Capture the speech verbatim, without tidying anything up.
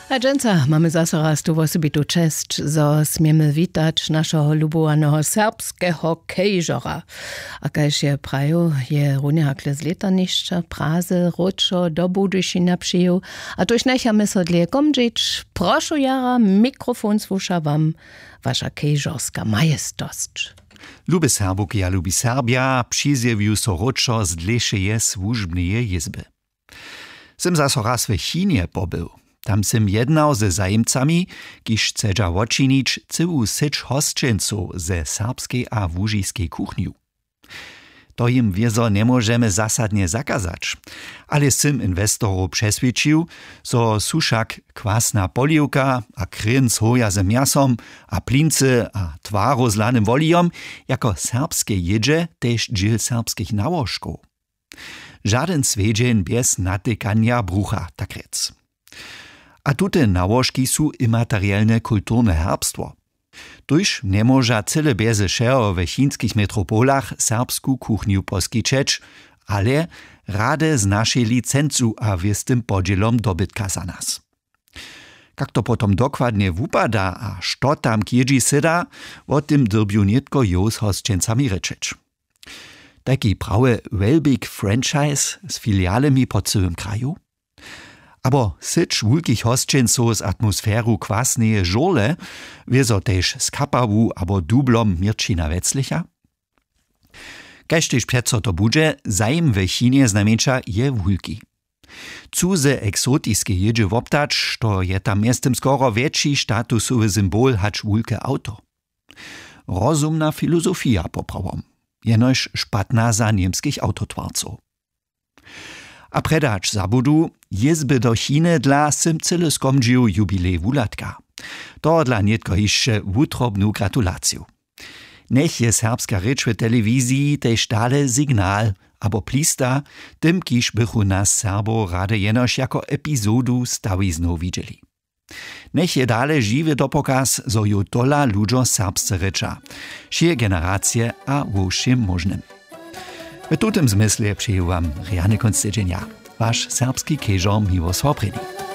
A dźensa mamy zaso raz tu wosebitu česć, zo směmy witać našeho lubowaneho serbskeho kejžora. A kaž je prajił, je runje hakle z lěta nišće praze wróćo do budyšina přijił. A tuž njechamy so dlěje komdźić. Prošu jara, mikrofon słuša wam, waša kejžorska majestosć. Lube Serbowki a lubi Serbja, přizjewił so wróćo z dlěšeje słužbneje jězby. Sym zaso raz w Chinje pobył. Tam sym jednał ze zajimcami, kiž chcedźa wočinić cyłu syć hosćencow ze serbskej a łužiskej kuchnju. To jim wězo njemóžemy zasadnje zakazać. Ale sym inwestorow přeswědčił, zo su wšak kwasna poliwka a krěnc hoja z mjasom a plincy a twarow z lanym wolijom jako serbske jědźe tež dźěl serbskich nałožkow. Žadyn swjedźeń bjez natykanja brucha, tak rjec. A tute nałožki su imaterielne kulturne herbstwo. Tuž njemóža cyle bjeze wšeho w chinskich metropolach serbsku kuchnju poskićeć, ale rady z našej licencu a wěstym podźělom dobytka za nas. Kak to potom dokładnje wupada a što tam k jědźi syda, wo tym dyrbju nětko jow z hosćencami rěčeć. Tajki prawy Welbig franchise z filialemi po cyłym kraju? Abo syć wulkich hosćencow z atmosferu kwasneje žurle, wězo tež z kapawu abo dublom měrćina weclicha? Kaž tež přeco to budźe, zajim w Chinje znajmjeńša je wulki. Chcu ze eksotiske jědźe woptać, što je tam mjeztym skoro wjetši statusowy symbol hač wulke awto. Rozumna filozofija poprawom, jenož špatna za němskich awtotwarcow. A prjedy hač zabudu, jězby do Chiny dla sym cyle skomdźił jubilej wuhladka. Tohodla nětko hišće wutrobnu gratulaciju. Njech je serbska rěč w telewiziji tež dale signal abo plista tym, kiž bychu nas Serbow rady jenož jako epizodu stawiznow widźeli. Njech je dale žiwy dopokaz, zo ju tola ludźo serbsce rěča, wšě generacije a wo wšěm móžnym. W tutym zmyslje přeju wam rjany kónc tydźenja, waš serbski kežor Miłosław Prěni.